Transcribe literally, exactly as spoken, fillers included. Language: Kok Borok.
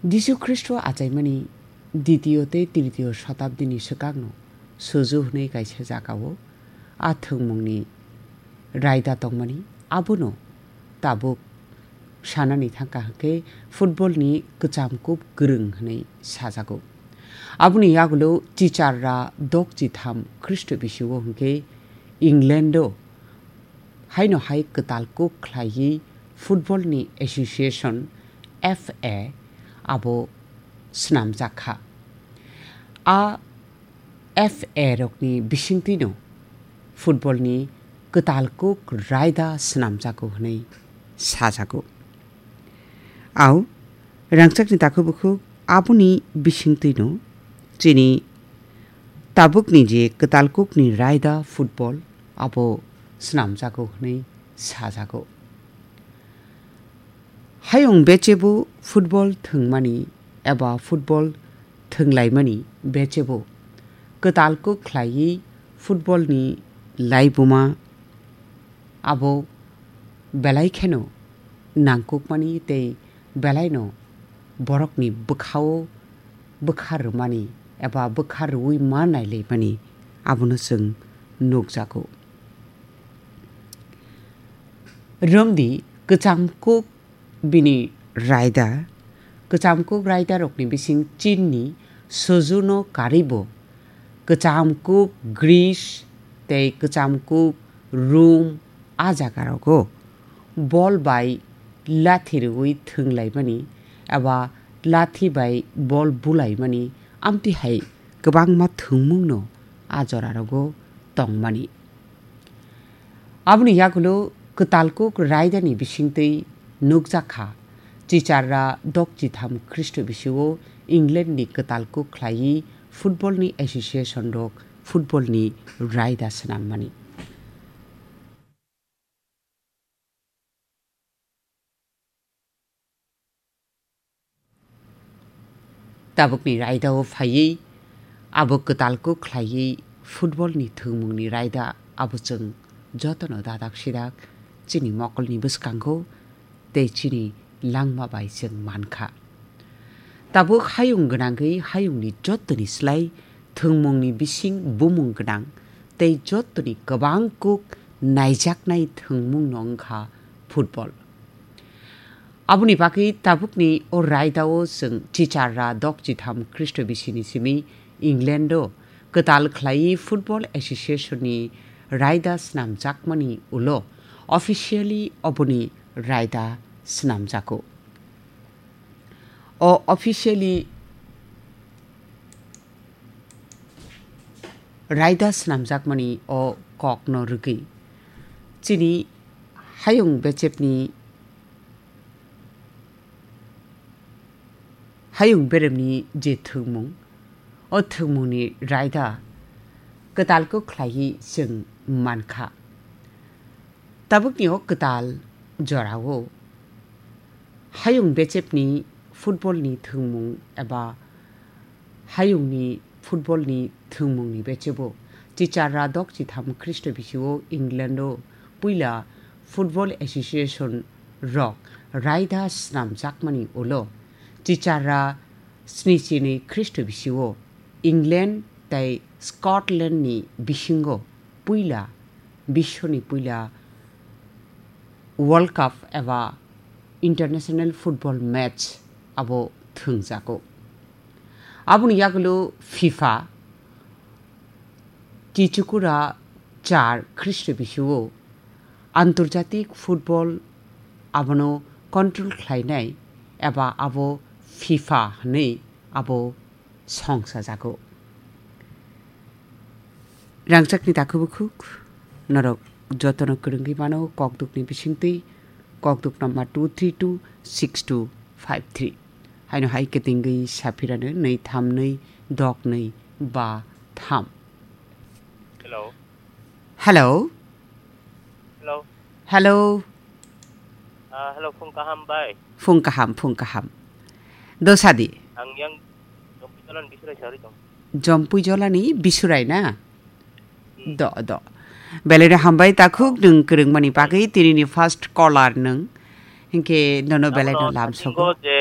Jisu Khristo achaimani ditiyo tei tritiyo shatabdini swkangno Suzu hwnwi kaisa jagao a thwngmungni raida tongmani, abono tabuk sanani thangkha hwnkhe footballni kwcham kuk kwrwng hwnwi sajago. Aboni yagulo chicharra dok chitham Khristo bisio hwnkhe England-o haino hai kwtal kuk khlaiwi footballni association, F A, abo swnamjak kha. A F A rokni bisingtwino footballni kwtal kuk raida swnamjago hwnwi sajago. Au, rangchakni takhuk bukhuk aboni bisingtwino chini tabukni je kwtal kukni raida football abo swnamjago hwnwi sajago. Hayung bechebo football thwngmani eba football thwnglaimani bechebo kwtal kuk khlaiwi footballni laibuma abo belai kheno nangkukmani tei belaino borokni bwkhao bwkha rwmani eba bwkha rwui ma nailaimani abono chwng nukjago. Romdi kwcham kuk bini raida, kwcham kuk raidarokni bising Chinni Suzuno karibo kwcham kuk Greece tei kwcham kuk Rome a jagarogo bol bai lathi rwui thwnglaimani eba lathi bai bol bulaimani amtwi hai kwbangma thwngmungno a jorarogo tongmani. Aboni yagulo kwtal kuk raidani bisingtwi nukjak kha, chicharra dok chitham Khristo bisio Englandni kwtal kuk khlaiwi footballni association rok footballni raida swnammani. Tabukni raidao phaiwi abo kwtal kuk khlaiwi footballni thwngmungni raida abo chwng jotono dadak sidak chini mokolni bwskango tei chini langma bai chwng mankha. Tabuk hayung gwnangwi hayungni jottoni slai thwngmungni bising bumung gwnang tei jottoni kwbang kuk naijaknai thwngmungno wngkha football. Aboni bagwi tabukni o raidao chwng chicharra dok chitham Khristo bisini simi England-o kwtal khlaiwi Football Association-ni raida snamjakmani ulo officially oboni raida snamjago. O officially raida snamjakmani o kokno rwgwi chini hayung bechepni hayung beremni je thwngmung, o thwngmungni raida kwtal kuk khlaiwi chwng mankha. Tabukni o kwtal jorao hayung bechepni footballni thwngmung eba hayungni footballni thwngmungni bechebo chicharra dok chitham Khristo bisio England-o puila Football Association rok raida snamjakmani ulo chicharra snichini Khristo bisio England tei Scotland-ni bisingo puila, biswni puila World Cup eba international football match abo thwngjago. Aboni yagulo FIFA Kichukura char Khristo bisio antorjatik football abono control khlainai eba abo FIFA hwnwi abo songsajago. Rangchakni takhuk bukhuk norok jotono kwrwngwi mano kokdukni bisingtwi, kokduk number two three two six two five three. Haino hai kwtwngwi saphirano nwi tham nwi dok nwi ba tham. Hello. Hello. Hello. Hello. Ah, hello, phung kaham bai. Phung kaham, phung kaham. Dosadi. Ang yang Jompuijolan Bisurai sari tong. Jompuijolani Bisurai na? Hmm. Do, do. Belai no hambai takhuk nwng kwrwngmani bagwi tinini first caller nwng. Hinkhe nono belai no lamsogo. Abo no satingo je